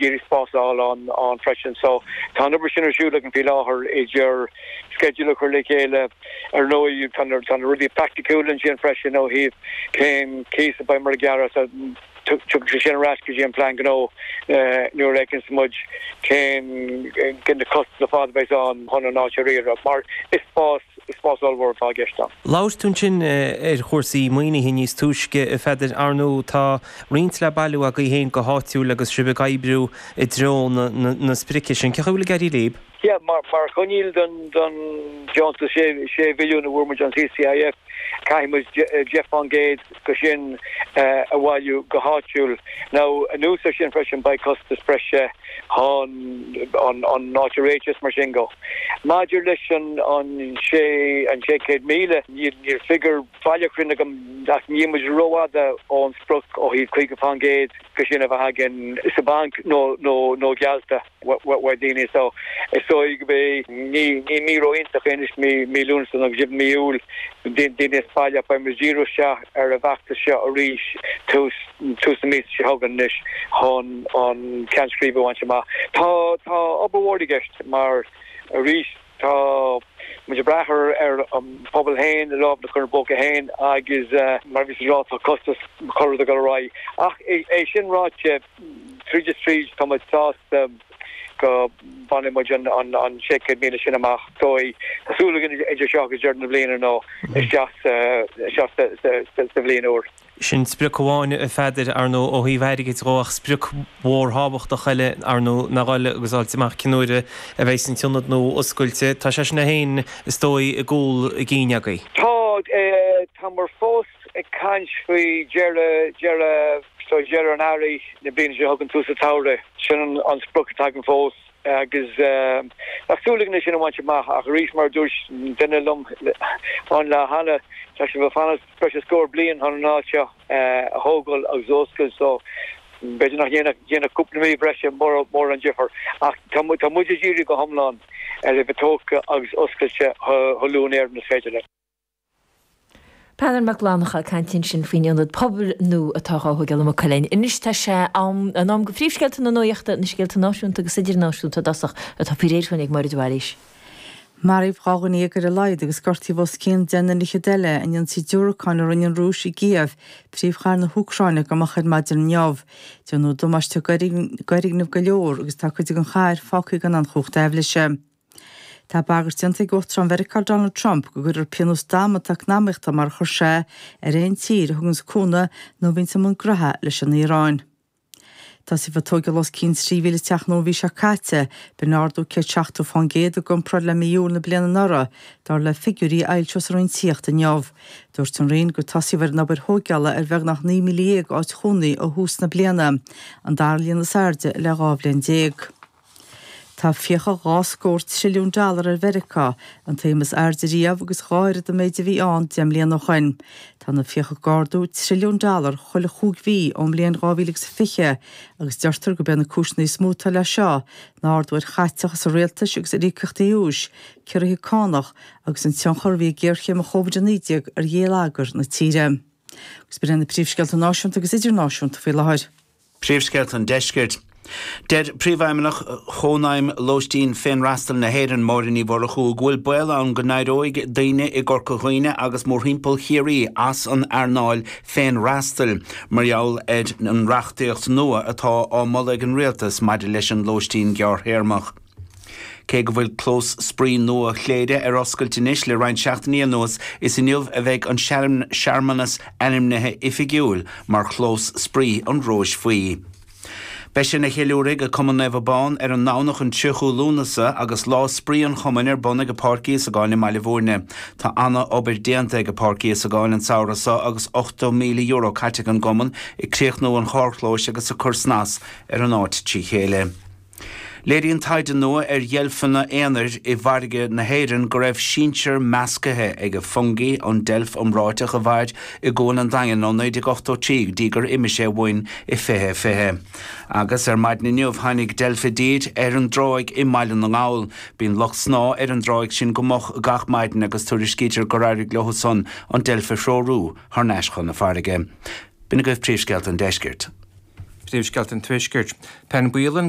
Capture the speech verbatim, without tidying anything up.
iarraidh spás a fháil ann ann freisin. So tá an obair sin ar siúl againn faoi láthair idir sceideal a chur le chéile, ar ndóigh tá na tá na rudaí praiticiúla ansin freisin ó thaobh cén cíos a bheidh muid ag gearradh so tiocfaidh sé sin ar ais go dtí an plean gnó nuair a fheiceanns muid cén cén na costais ar fad a bheidh ann chun an áit a riaradh mar is spás is spás ollmhór atá i gceist ann. Labhair tú ansin ar chúrsaí maoinithe níos túisce, a Pheadair. Ar ndóigh, tá roinnt le bailiú agaibh féin go háitiúil agus sibh ag oibriú i dtreo na sprice sin. Cén chaoi a bhfuil ag éirí libh? Yeah, mar mar choinníoll don don deontas sé sé mhilliún a fuair muid ón C C I F, caithfidh muid deich faoin gcéad de sin a bhailiú go háitiúil. Now, anuas air sin freisin beidh costas breise chun an an áit a réiteach is mar sin de. Maidir leis an an sé an sé chéad míle, níl níl figiúr baileach cruinn agam ach níl muid rófhada ón sprioc ó thaobh caoga faoin gcéad de sin a bheith againn sa bhanc nó nó nó geallta uaidh daoine so is dóigh go mbeidh ní ní mí ró-iontach é anois mí mí Lúnasa nó go mí Iúil daoine as baile beidh muid díriú isteach ar an bhfeachtas seo arís tús tús na míosa seo chugainn anois chun an ceann scríbe a bhaint amach. Tá tá obair mhór i gceist mar arís tá muid ag brath ar ar an pobal féin, a lámh a chur ina bpóca féin agus mar a bhíos ag rá tá costas chuile rud ag dul ar aghaidh. Ach é sin ráite, tríd is tríd tá muid sásta go mbainfidh muid an an an sé chéad míle sin amach. Dóigh tá súil againn idir seo agus deireadh na bliana nó isteach sa isteach sa sa sa bhliain úr. Sin sprioc amháin, a Pheadair, ar ndóigh, ó thaobh airgid dhó, ach sprioc mhór thábhachtach eile, ar ndóigh, ná a dhul agus fháilt amach cén uair a bheidh an t-ionad nua oscailte. Tá sé sin é féin, is dóigh, i gcúl a gcinn agaibh. Tá, táimid fós ag caint faoi dheireadh, deireadh, so deireadh an earraigh na bliana seo chugainn, tús an tsamhraidh. Sin an sprioc atá againn fós agus tá súil againn é sin a bhaint amach ach arís mar a dúirt duine liom an lá cheana, tá sibh ag fanacht breis is scór bliain chun an áit seo a thógáil agus a oscailt so b'fhéidir nach ndéanfadh cúpla mí breise mórán difear ach tá muid ag díriú go hiomlán ar a bheith tógtha agus oscailte chomh luath in Éirinn is féidir linn. Peadar Mac Fhlannchadha ag caint ansin faoin ionad pobail nua atá á thógáil i Maigh Cuilinn. Anois tá sé am an am do phríomhscéalta na nuachta, na scéalta náisiúnta agus idirnáisiúnta i dtosach atá faoi réir ag Máire de Bhailís. Maraíodh dhá dhuine déag ar a laghad agus gortaíodh os cionn deich nduine fhichead eile in ionsaí diúracáin a rinne an Rúis i gCív, príomhchathair na hÚcráine, go moch ar maidin inniu. Déanadh damáiste d'fhoirgnimh go leor agus tá cuid den chathair fágtha gan aon chumhacht aibhléise. Tá bagairt déanta ag Uachtarán Mheiriceá Donald Trump go gcuirfear pionós damanta eacnamaíochta mar a chuir sé ar aon tír a thuganns cúnamh nó a bhíonns i mbun graithe leis an Iaráin. Tosaíodh ag tógáil os cionn trí mhíle teach nua an mhí seo caite, b'in ardú céad seachtó fán gcéad i gcomparáid le mí Iúil na bliana anuraidh, dar le figiúirí a fhoilsíodh sa Roinn Tithíochta inniu. Dúirt an Roinn gur tosaíodh ar an obair thógála ar bheagnach naoi míle dhéag áit chónaí ó thús na bliana, an dara líon is airde le dhá bhliain déag. Tá fiacha dhá scór trilliún dollar ar Mheiriceá, an tsuim is airde riamh agus dhá oiread an méid a bhí ann deich mbliana ó shoin. Tá na fiacha ag ardú trilliún dollar chuile chúig mhí ón mbliain dhá mhíle agus a fiche agus deirtear gurb é na cúiseanna is mó atá leis seo ná ardú ar chaiteachas an rialtais agus ar íocaíochtaí úis, ciorruithe cánach agus an tionchar a bhí ag géarchéim an Chóivid a naoi déag ar gheilleagar na tíre. Agus b'in iad na príomhscéalta náisiúnta agus idirnáisiúnta faoi láthair. Príomhscéalta an Deiscirt. Deir Príomhfheidhmeannach Chónaidhm Lóistín Féinfhreastail na hÉireann, Máire Ní Mhurchú, go bhfuil baol ann go n-éireoidh daoine i gCorca Dhuibhne agus mórthimpeall Chiarraí as an earnáil féinfhreastail mar gheall ar an reachtaíocht nua atá á moladh ag an Rialtas maidir leis an lóistín gearrthéarmach. Cé go bhfuil clós spraoi nua Chléire ar oscailt anois le roinnt seachtainí anuas, is inniu a bheidh an searmanas ainmnithe oifigiúil mar chlós spraoi an Róis Bhuí. Beidh sé ina cheiliúradh ag Cumann Naomh Abán ar an nDomhnach an tríochú Lúnasa agus lá spraoi an chumainn ar bun ag Páirc Íosagáin i mBaile Bhúirne. Tá ana-obair déanta ag Páirc Íosagáin an samhradh seo agus ochtó míle euro caite ag an gcumann ag críochnú an charrchlóis agus ag cur snas ar an áit trí chéile. Léiríonn taighde nua ar dheilfeanna aonair i bhfarraige na hÉireann go raibh sinsear measctha ag Fungie, an deilf iomráiteach a mhair i gCuan an Daingin ó naoi déag ochtó trí go dtí gur imigh sé uainn i fiche fiche. Agus ar maidin inniu tháinig deilf i dtír ar an dtráigh i mBaile na nGall. Bíonn lucht snámha ar an dtráigh sin go moch gach maidin agus tuairiscítear gur éirigh leo san an deilf a threorú thar n-ais chun na farraige. B'in agaibh príomhscéalta an deiscirt. Príomhscéalta an Tuaiscirt. Tá an baol ann go